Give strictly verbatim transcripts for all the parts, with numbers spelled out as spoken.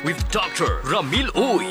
with Doctor Ramil Uy.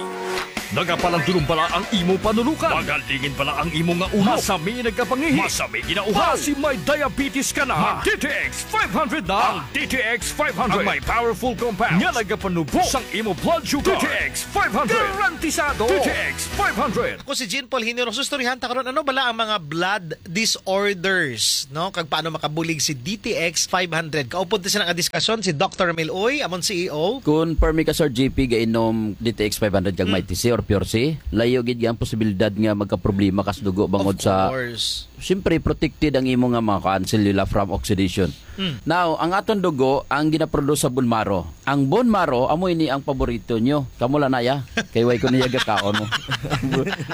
Nagapalandulong bala ang imo panunukan? Magalingin bala ang imo nga ulo? Masami nagkapangihi? Masami ginauhaw? Basi may diabetes ka na? Mag D T X five hundred na. Ang D T X five hundred ang may powerful compound nga nagapanubo sang imo blood sugar. D T X five hundred. Garantisado. D T X five hundred. Ako si Jean Paul Generoso. Istoryahan ta karon, ano bala ang mga blood disorders, no? Kag paano makabulig si D T X five hundred? Kaupod ni sila nga diskusyon si Doctor Ramil Uy, amon C E O. Kun permi ka, Sir G P, gainom D T X five hundred kag Mm. Mighty C or Pure C, layo gid ang posibilidad nga magkaproblema ka sa dugo bangod Of sa course. Siyempre, protected ang imo nga mga kuan, selula from oxidation. Mm. Now, ang aton dugo, ang ginaproduce sa bone marrow. Ang bone marrow, amo ini ang paborito nyo. Kamo lang na ya. Kay way ko niya gakaon mo.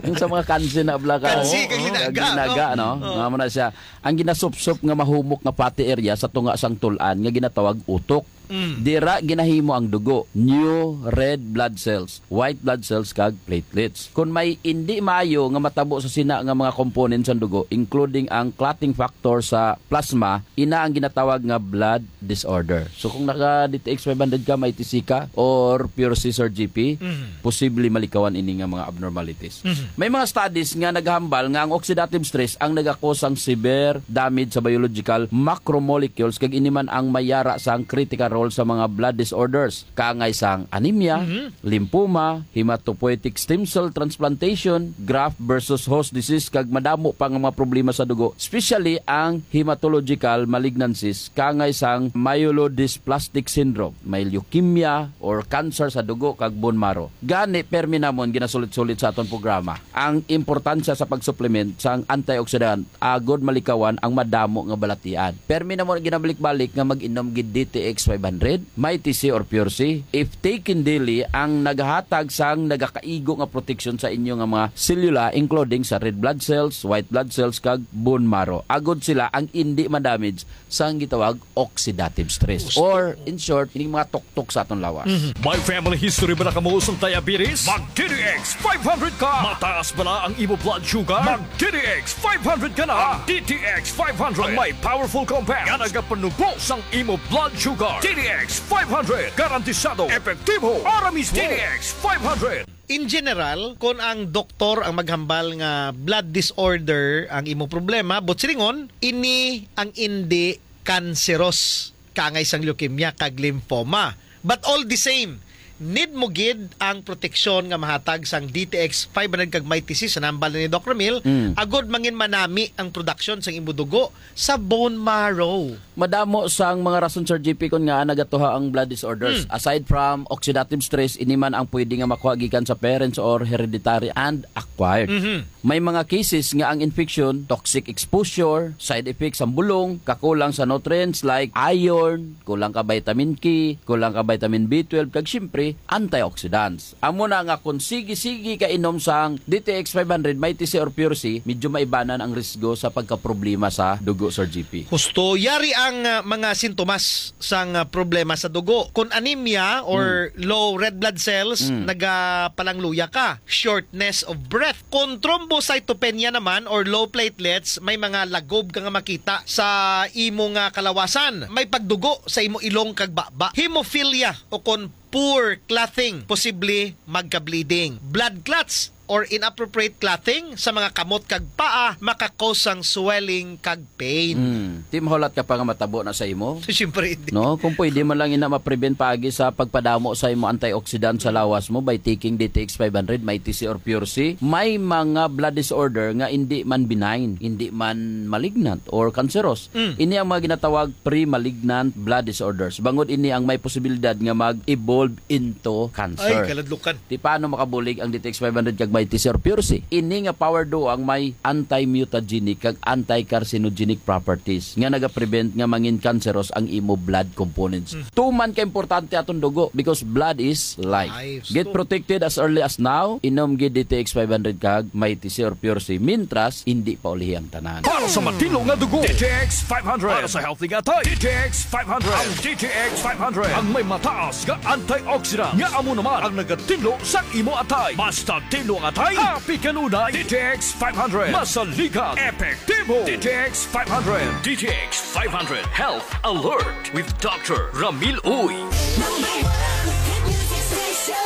Yung sa mga kansi na bla ka, Kansi, oh, kag linaga, kag linaga, no? no? Oh. Nga mo na siya. Ang ginasupsop nga mahumok nga fatty area sa tunga sang tul-an nga ginatawag utok. Mm. Dira ginahimo ang dugo, new red blood cells, white blood cells, kag platelets. Kung may indi maayo nga matabo sa sina nga mga components sang dugo, including ang clotting factor sa plasma, ina ang ginatawag nga blood disorder. So kung naka D T X five hundred ka, may T C ka, or Pure C or G P, Mhm. posible malikawan ini nga mga abnormalities. Mhm. May mga studies nga naghambal nga ang oxidative stress ang nagakos sang severe damage sa biological macromolecules, kag ini man ang mayara sang critical role sa mga blood disorders, kaangay sang anemia, Mhm. lymphoma, hematopoietic stem cell transplantation, graft versus host disease, kag madamo pa nga mga problema sa dugo, especially ang hematological malignancies, kaangay sang myelodysplastic syndrome, may leukemia or cancer sa dugo kag bone marrow. Gani, permi namon ginasulit-sulit sa aton programa ang importansya sa pag-supplement sang antioxidant agod malikawan ang madamo nga balatian. Permi namon ginabalik-balik nga mag-inom gid D T X five hundred, Mighty C or Pure C. If taken daily, ang nagahatag sang nagakaigo nga proteksyon sa inyo nga mga selula, including sa red blood cells, white blood cells, kag bone marrow, agod sila ang indi ma-damage sang gitawag oxidative stress. Gusto Or, ko. in short, ining mga tuktok sa aton lawas. Mhm. May family history bala kamo sang diabetes? Mag D T X five hundred ka! Mataas bala ang imo blood sugar? Mag D T X five hundred ka na! Ang D T X five hundred ang may powerful compound nga nagapanubo sang imo blood sugar. D T X five hundred, garantisado, epektibo, ora mismo. D T X five hundred. In general, kon ang doktor ang maghambal nga blood disorder ang imo problema, but silingon, ini ang indi kanseros, kaangay sang leukemia kag lymphoma. But all the same, need mo gid ang proteksyon nga mahatag sang D T X five hundred kag Mighty C, sa nambal ni Doc Ramil, Mm. agod mangin manami ang production sang imo dugo sa bone marrow. Madamo sang mga rason, Sir G P, kon ngaa nagatuha ang blood disorders. Mm. Aside from oxidative stress, ini man ang pwede nga makuha gikan sa parents or hereditary and acquired. Mhm. May mga cases nga ang infection, toxic exposure, side effects sang bulong, kakulang sa nutrients like iron, kulang ka vitamin K, kulang ka vitamin B twelve, kag siyempre, antioxidants. Amo na nga kung sige-sige ka inom sang D T X five hundred, Mighty C or Pure C, medyo maibanan ang risgo sa pagkaproblema sa dugo, Sir G P. Husto, yari ang, ah, mga sintomas sang, ah, problema sa dugo. Kung anemia or Hmm. low red blood cells, Hmm. nagapalangluya ka. Shortness of breath. Kung thrombocytopenia naman or low platelets, may mga lagob ka nga makita sa imo nga kalawasan. May pagdugo sa imo ilong kag baba. Hemophilia o kon poor clotting, posible magka-bleeding. Blood clots or inappropriate clotting sa mga kamot kag paa maka-cause sang swelling kag pain. Mm. Di mahulat ka pa nga matabo na sa imo? Siyempre, hindi. No? Kung pwede man lang ina ma-prevent paagi sa pagpadamo sa imo antioxidant sa lawas mo by taking D T X five hundred, Mighty C or Pure C. May mga blood disorder nga hindi man benign, hindi man malignant or cancerous. Mm. Ini ang mga ginatawag pre-malignant blood disorders. Bangod ini ang may posibilidad nga mag-evolve into cancer. Ay, kaladlukan. Ti paano makabulig ang D T X five hundred kag Mighty C or Pure C? Ini nga power duo ang may anti-mutagenic kag anti-carcinogenic properties nga nagaprevent nga mangin cancerous ang imo blood components. Mm. Tuman ka importante aton dugo because blood is life. Life. Get So, protected as early as now. Inom gid D T X five hundred kag Mighty C or Pure C, mintras hindi pa ulihi ang tanan. Para sa matino nga dugo, D T X five hundred. Para sa healthy nga atay, D T X five hundred. Ang D T X five hundred ang may mataas nga antioxidant nga amo naman ang nagatinlo sa imo atay. Basta tinlo ang atay, happy kanunay. D T X five hundred, masaligan, epektibo. D T X five hundred. D T X five hundred Health Alert with Doctor Ramil Uy. Number one hit music station.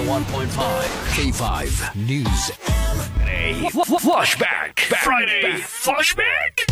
one point five K five News. Friday Flashback. Friday Flashback.